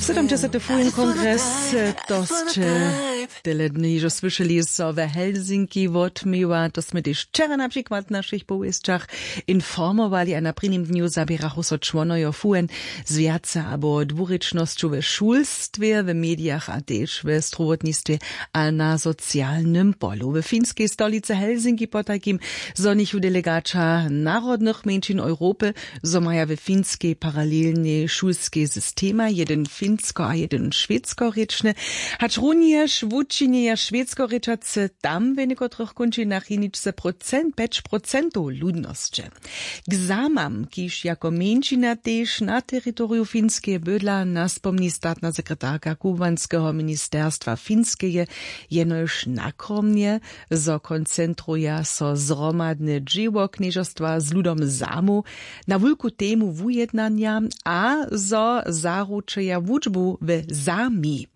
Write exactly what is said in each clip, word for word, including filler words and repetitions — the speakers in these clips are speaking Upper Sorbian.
Sydomdźesaty fujen kongres, to sće tele dny hižo słyšeli, so we Helsinki wotměła. To smy tež wčera na přikład w našich powěsćach informowali, a na prěnim dnju zaběrachu so čłonojo fujen z wjace abo dwurěčnosću we šulstwje, w medijach a tež we strowotnistwje a na socialnym polu. W finskej stolicy Helsinki potajkim zhonichu delegaća narodnych mjeńšin Europy, zo maja we Finskej paralelnej šulskej systema, jedyn finsko a jedyn šwedsko rěčny. Hač runjež wučinjeja šwedsko rěčacy tam w někotrych kónčinach jeničce procent, pjeć procentow ludnosće. K Zamam, kiž jako mjeńšina tež na teritoriju Finskeje bydla, naspomni statna sekretarka kubłanskeho ministerstwa Finskeje jenož nakromnje, zo koncentruja so zhromadne dźěło knježerstwa z ludom Zamow na wulku temu wujednanja a zo zaručeja wučbu w Zami.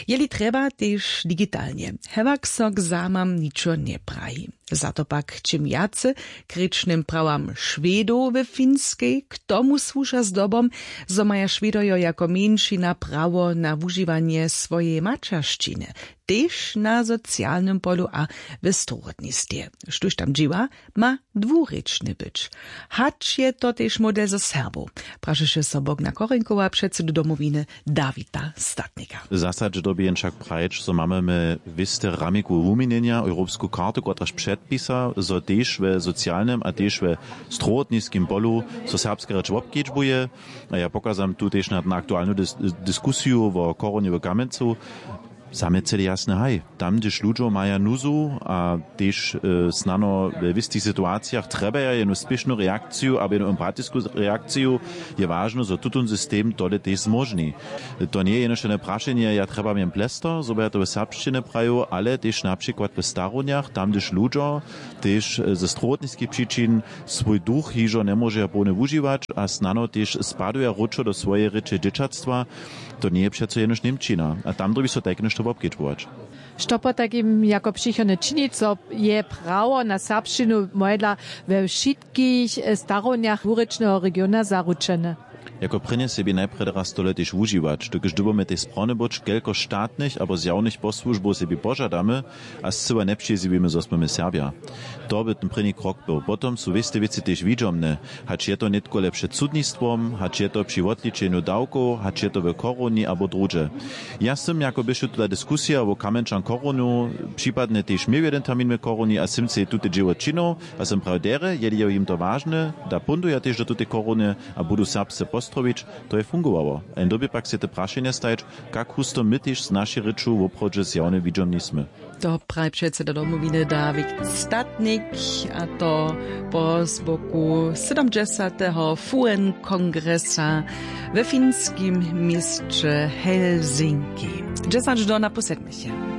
Jeli trjeba, tež digitalnje. Hewak so k Zamam ničo njepraji. Za to pak čim wjace k rěčnym prawam Šwedow we Finskej, k tomu słuša zdobom, zo maja Šwedojo jako mjeńšina prawo na wužiwanje swojeje maćeršćiny, tež na socialnym polu a w strowotnistwje. Štóž tam dźěła, ma dwurěčny być. Hač je to tež model za Serbow? Prašeše so Bogna Korinkowa, předsedu Domowiny Dawida Statnika. W zasadźe dyrbi jen wšak prajić, zo mamy my wěste ramikowe wuměnjenja, europsku kartu, kotraž předpisa, zo tež we socialnym a tež we strowotniskim polu so serbska rěč wobkedźbuje. A ja pokazam tu tež na, na aktualnu dis-, diskusiju wo koronje w Kamjencu. Za mnje cyle jasne, haj, tam, hdyž ludźo maja nuzu a tež, e, snano we wěstich situacijach trjebaja jednu spěšnu reakciju abo jednu empatisku reakciju, je wažne, zo tutón system tole tež zmóžni. To njeje jenož jedne prašenje, ja trjebam jen plester, zo by ja to w serbšćinje prajił, ale tež na přikład w starownjach, tam, hdyž ludźo tež, e, ze strowotniskich přičin swój duch hižo njemóžeja połnje wužiwać a snano tež spaduja wróćo do swojeje rěče dźěćatstwa, to njeje přeco jenož Němčina. A tam dyrbi so tajke něšto wobkedźbować. Što potajkim jako přichodne činić, zo je prawo na serbšćinu mojedla we wšitkich, e, starownjach dwurěčneho regiona zaručene? Jako prěnje sebi najprjedy raz tole tež wužiwać, dokelž dyrbimy tež sprawne być, kelko statnych abo zjawnych posłužbow sebi požadamy a scyła njepřizjewimy, zo smy my Serbja. To by ten prěni krok był. Potom su wěste wěci tež widźomne, hač je to nětko le před sudnistwom, hač je to při wotličenju dawkow, hač je to w koroni abo druhdźe. Ja sym, jako běše tuta diskusija wo Kamjenčan koronu, připadnje tež měł jedyn termin w koroni a sym sej tute dźěło činił, a sym prajił derje, jeli je jim to wažne, da póńdu ja tež do tutej korony a budu serbsce postrowić, to je fungowało. A jen dyrbi pak sej te prašenje stajić, kak husto my tež z našej rěču woprawdźe zjawne widźomni smy. To praji předseda Domowiny Dawid Statnik, a to po zboku sydomdźesateho fujen kongresa we finskim měsće Helsinki. Dźesać do na pół sedmich.